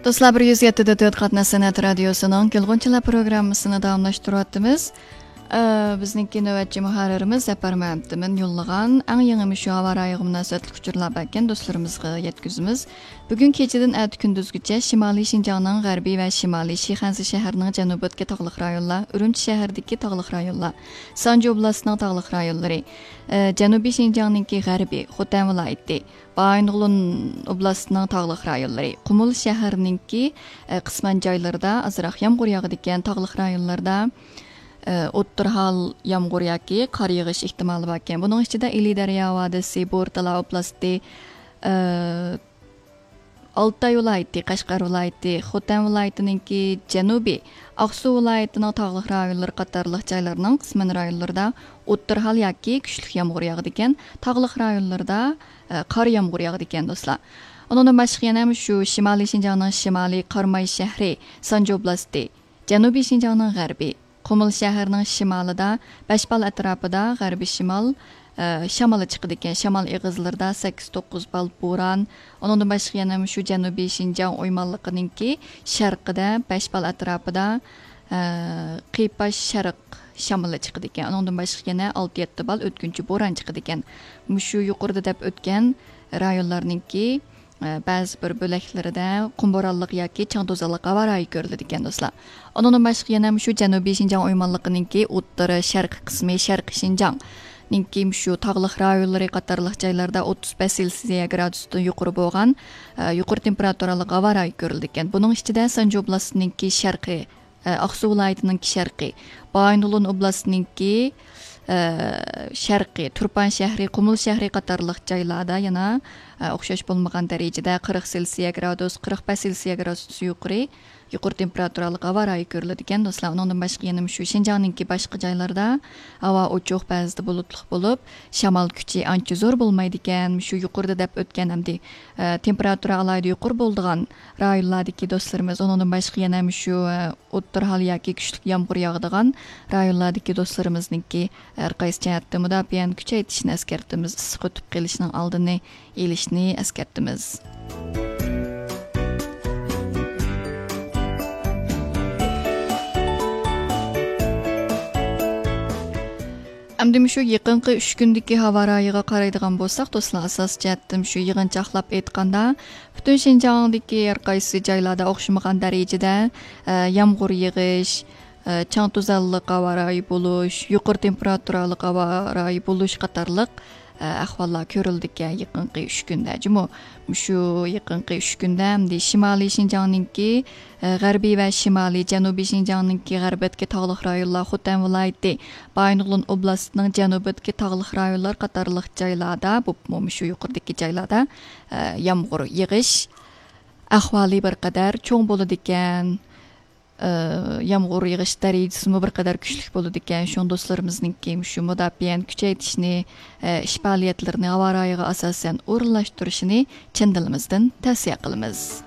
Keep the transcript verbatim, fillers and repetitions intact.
دوستلار، بىر يۈز يەتتە دە تۆت قاتناش سەنئەت رادىيوسىنىڭ گېلغۇنچىلار پروگراممىسىنى داۋاملاشتۇرۇۋاتىمىز. ئە، بىزنىڭكى نۆۋەتچى مۇھەررىرىمىز زەپەر مەمتىمىن يوللىغان ئەڭ يېڭى مۇشۇ ھاۋا رايىغا مۇناسىۋەتلىك ئۇچۇرلار باركەن، دوستلىرىمىزغا يەتكۈزىمىز. بۈگۈن كېچىدىن ئەتە كۈندۈزگىچە شىمالىي شىنجاڭنىڭ غەربىي ۋە شىمالىي، شىخەنزە شەھىرىنىڭ جەنۇبىدىكى تاغلىق رايونلار، ئۈرۈمچى شەھىرىدىكى تاغلىق رايونلار، سانجى ئوبلاستىنىڭ تاغلىق رايونلىرى، ئە، جەنۇبىي شىنجاڭنىڭكى غەربىي، خوتەن ۋىلايىتى، بايىنغولىن ئوبلاستىنىڭ تاغلىق رايونلىرى، قۇمۇل شەھىرىنىڭكى، ئە، قىسمەن جايلىرىدا ئازراق يامغۇر ياغىدىكەن، تاغلىق رايونلاردا، ئە، ئوتتۇرا ھال يامغۇر ياكى قار يېغىش ئېھتىمالى باركەن. بۇنىڭ ئىچىدە ئىلى دەريا ۋادىسى، بورتالا ئوبلاستى، ئە، ئالتاي ۋىلايىتى، قەشقەر ۋىلايىتى، خوتەن ۋىلايىتىنىڭكى جەنۇبى، ئاقسۇ ۋىلايىتىنىڭ تاغلىق رايونلىرى قاتارلىق جايلارنىڭ قىسمەن رايونلىرىدا ئوتتۇرا ھال ياكى كۈچلۈك يامغۇر ياغىدىكەن، تاغلىق رايونلىرىدا، ئە، قار يامغۇر ياغىدىكەن، دوستلار. ئۇنىڭدىن باشقا يەنە شۇ شىمالىي شىنجاڭنىڭ شىمالى، قاراماي شەھىرى، سانجى ئوبلاستى، جەنۇبىي شىنجاڭنىڭ غەربى، قۇمۇل شەھىرىنىڭ شىمالىدا، بەشبال ئەتراپىدا غەربىي شىمال، ئە، شامىلى چىقىدىكەن. شامال ئېغىزلىرىدا سەككىز توققۇز بال بوران. ئۇنىڭدىن باشقا يەنە مۇشۇ جەنۇبىي شىنجاڭ ئويمانلىقىنىڭكى شەرقىدە، بەشبال ئەتراپىدا، ئە، قىيپاش شەرق شامىلى چىقىدىكەن. ئۇنىڭدىن باشقا يەنە ئالتە يەتتە بال ئۆتكۈنچى بوران چىقىدىكەن. مۇشۇ يۇقىرىدا دەپ ئۆتكەن رايونلارنىڭكى ئە، بەزى بىر بۆلەكلىرىدە قۇم بورانلىق ياكى چاڭ توزانلىق ھاۋا رايى كۆرۈلىدىكەن، دوستلار. ئۇنىڭدىن باشقا يەنە مۇشۇ جەنۇبىي شىنجاڭ ئويمانلىقىنىڭكى ئوتتۇرا شەرقىي قىسمى، شەرقىي شىنجاڭنىڭكى مۇشۇ تاغلىق رايونلىرى قاتارلىق جايلاردا ئوتتۇز بەش سېلسىيە گرادۇستىن يۇقىرى بولغان، ئە، يۇقىرى تېمپېراتۇرالىق ھاۋا رايى كۆرۈلىدىكەن. بۇنىڭ ئىچىدە سانجى ئوبلاستىنىڭكى شەرقىي، ئاقسۇ ۋىلايىتىنىڭكى شەرقى، بايىنغولىن ئوبلاستىنىڭكى، ئە، شەرقى، تۇرپان شەھىرى، قۇمۇل شەھىرى قاتارلىق جايلاردا يەنە، ئە، ئوخشاش بولمىغان دەرىجىدە قىرىق سېلسىيە گرادۇس، قىرىق بەش سېلسىيە گرادۇس يۇقىرى، يۇقىرى تېمپېراتۇرالىق ھاۋا رايى كۆرۈلىدىكەن، دوستلار. ئۇنىڭدىن باشقا يەنە مۇشۇ شىنجاڭنىڭكى باشقا جايلىرىدا ھاۋا ئوچۇق، بەزىدە بۇلۇتلۇق بولۇپ، شامال كۈچى ئانچە زور بولمايدىكەن. مۇشۇ يۇقىرىدا دەپ ئۆتكەن ئەمدى، ئە، تېمپېراتۇرا ئالاھىدە يۇقىرى بولىدىغان رايونلاردىكى دوستلىرىمىز، ئۇنىڭدىن باشقا يەنە مۇشۇ، ئە، ئوتتۇرا ھال ياكى كۈچلۈك يامغۇر ياغىدىغان رايونلاردىكى دوستلىرىمىزنىڭكى ھەر قايسى جەھەتتە مۇداپىئەنى كۈچەيتىشىنى ئەسكەرتىمىز، ئىسسىق ئۆتۈپ قېلىشنىڭ ئالدىنى ئېلىشنى ئەسكەرتىمىز. ئەمدى مۇشۇ يېقىنقى ئۈچ كۈندىكى ھاۋا رايىغا قارايدىغان بولساق، دوستلار، ئاساسىي جەھەتتىن شۇ يىغىنچاقلاپ ئېيتقاندا، پۈتۈن شىنجاڭدىكى ھەر قايسى جايلاردا ئوخشىمىغان دەرىجىدە، ئە، يامغۇر يېغىش، ئە، چاڭ توزانلىق ھاۋا رايى بولۇش، يۇقىرى تېمپېراتۇرالىق ھاۋا رايى بولۇش قاتارلىق، ئە، ئەھۋاللار كۆرۈلىدىكەن يېقىنقى ئۈچ كۈندە. جۇمۇ، مۇشۇ يېقىنقى ئۈچ كۈندە ئەمدى شىمالىي شىنجاڭنىڭكى، ئە، غەربىي ۋە شىمالىي، جەنۇبىي شىنجاڭنىڭكى غەربىدىكى تاغلىق رايونلار، خوتەن ۋىلايىتى، بايىنغولىن ئوبلاستىنىڭ جەنۇبىدىكى تاغلىق رايونلار قاتارلىق جايلاردا، بولۇپمۇ مۇشۇ يۇقىرىدىكى جايلاردا، ئە، يامغۇر يېغىش ئەھۋالى بىر قەدەر چوڭ بولىدىكەن. ئە، يامغۇر يېغىش دەرىجىسىمۇ بىر قەدەر كۈچلۈك بولىدىكەن. شۇڭا دوستلىرىمىزنىڭكى مۇشۇ مۇداپىئەنى كۈچەيتىشنى، ئە، ئىش پائالىيەتلىرىنى ھاۋا رايىغا ئاساسەن ئورۇنلاشتۇرۇشىنى چىن دىلىمىزدىن تەۋسىيە قىلىمىز.